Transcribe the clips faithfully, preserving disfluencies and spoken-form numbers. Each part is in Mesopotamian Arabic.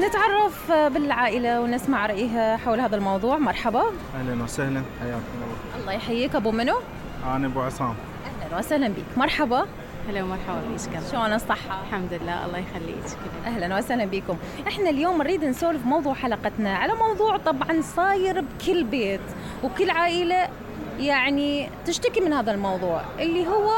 نتعرف بالعائلة ونسمع رأيها حول هذا الموضوع. مرحبا. أهلا وسهلا، حياكم الله. الله يحييك. أبو منو؟ أنا أبو عصام. أهلا وسهلا بك. مرحبا. هلا ومرحبا بيك. شلون الصحة؟ الحمد لله، الله يخليك. أهلا وسهلا بكم. إحنا اليوم نريد نسولف موضوع حلقتنا على موضوع طبعا صاير بكل بيت وكل عائلة، يعني تشتكي من هذا الموضوع اللي هو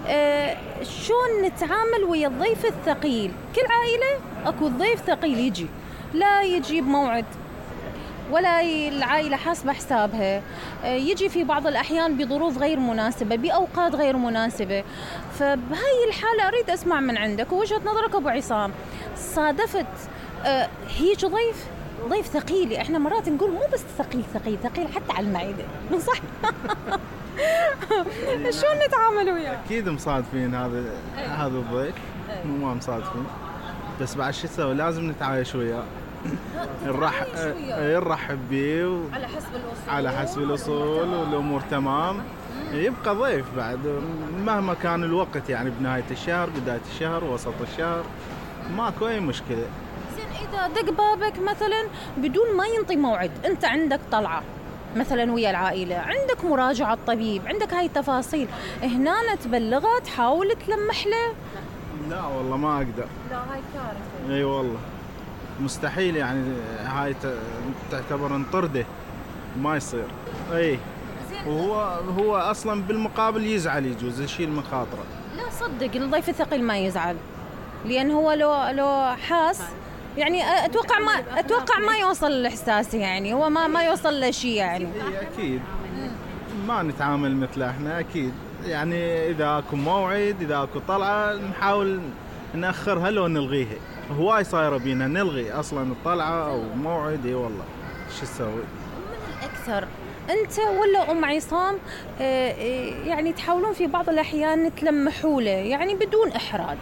آه شلون نتعامل ويا الضيف الثقيل. كل عائلة أكو ضيف ثقيل يجي، لا يجي بموعد ولا العائلة حاسبة حسابها، يجي في بعض الأحيان بظروف غير مناسبة، بأوقات غير مناسبة. فبهاي الحالة أريد أسمع من عندك ووجهة نظرك أبو عصام. صادفت هيج ضيف ضيف ثقيل، احنا مرات نقول مو بس ثقيل ثقيل ثقيل حتى على المعدة، صح؟ شلون نتعامل وياه؟ أكيد مصادفين هذا هذا الضيف، مو ما مصادفين، بس بعد شو نسوي؟ لازم نتعايش وياه. نرحب نرحب به و... على حسب الأصول على حسب الأصول والأمور تمام. يبقى ضيف بعد مهما كان الوقت، يعني بنهاية الشهر، بداية الشهر، وسط الشهر، ماكو أي مشكلة. زين إذا دق بابك مثلا بدون ما ينطي موعد، أنت عندك طلعة مثلا ويا العائلة، عندك مراجعة طبيب، عندك هاي التفاصيل، هنا تبلغه تحاول تلمح له؟ لا والله ما أقدر. لا هاي كارثة. أي والله مستحيل، يعني هاي تعتبر انطرده، ما يصير. اي وهو هو اصلا بالمقابل يزعل، يجوز يشيل من خاطره. لا صدق الضيف الثقيل ما يزعل، لان هو لو لو حاس، يعني اتوقع ما اتوقع ما يوصل الاحساس، يعني هو ما ما يوصل له شيء يعني. اكيد ما نتعامل مثل احنا، اكيد يعني اذا اكو موعد، اذا اكو طلعه نحاول ناخرها لو نلغيها. هواي صايره بينا نلغي اصلا الطلعه او موعد. اي والله شو نسوي؟ من الاكثر انت ولا ام عصام يعني تحاولون في بعض الاحيان تلمحوا له، يعني بدون احراج؟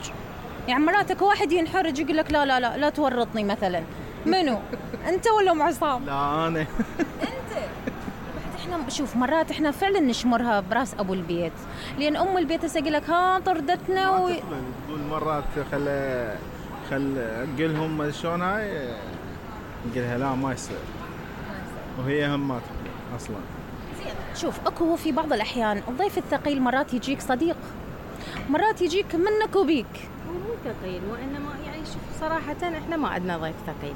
يعني مراتك واحد ينحرج يقول لك لا لا لا لا تورطني مثلا، منو انت ولا ام عصام؟ لا انا. انت. احنا شوف مرات احنا فعلا نشمرها براس ابو البيت، لان ام البيت هسه يقول لك ها طردتنا و... تقول مرات خل خل اقلهم شلون هاي، نقولها لا ما يصير، وهي هم ما تقبل اصلا. شوف اكو في بعض الاحيان الضيف الثقيل مرات يجيك صديق، مرات يجيك منك وبيك. هو مو ثقيل، وانما يعني شوف صراحه احنا ما عندنا ضيف ثقيل،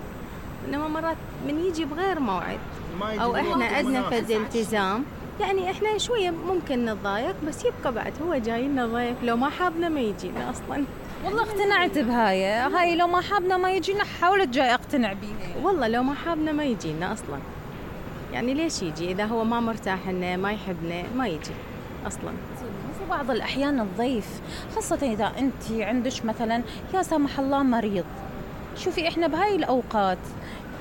انما مرات من يجي بغير موعد او احنا عندنا فد التزام، يعني احنا شويه ممكن نتضايق، بس يبقى بعد هو جاي لنا ضيف، لو ما حابنا ما يجينا اصلا. والله اقتنعت بهاي هاي لو ما حابنا ما يجينا، حاولت جاي اقتنع بيها. والله لو ما حابنا ما يجينا اصلا، يعني ليش يجي اذا هو ما مرتاح لنا ما يحبنا ما يجي اصلا. في بعض الاحيان الضيف خاصه اذا انت عندش مثلا يا سمح الله مريض، شوفي احنا بهاي الاوقات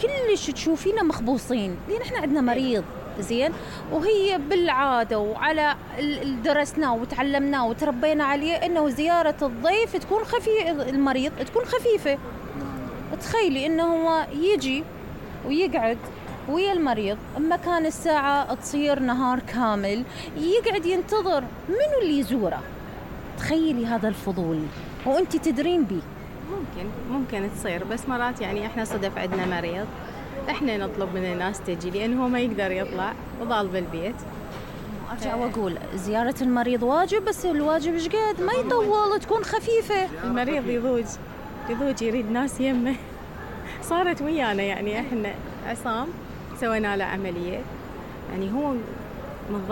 كلش تشوفينا مخبوصين، لان احنا عندنا مريض زين، وهي بالعاده وعلى درسناه وتعلمناه وتربينا عليه انه زياره الضيف تكون خفيفه، المريض تكون خفيفه. تخيلي انه هو يجي ويقعد ويا المريض، اما كان الساعه تصير نهار كامل يقعد ينتظر منو اللي يزوره. تخيلي هذا الفضول وانت تدرين بيه. ممكن ممكن تصير، بس مرات يعني احنا صدف عندنا مريض، احنا نطلب من الناس تجي لأنه هو ما يقدر يطلع وضال بالبيت. ارجع واقول زيارة المريض واجب، بس الواجب ايش قد ما يطول، تكون خفيفة. المريض يضوج يضوج يريد ناس يمه. صارت ويانا يعني احنا عصام سوينا له عملية، يعني هو من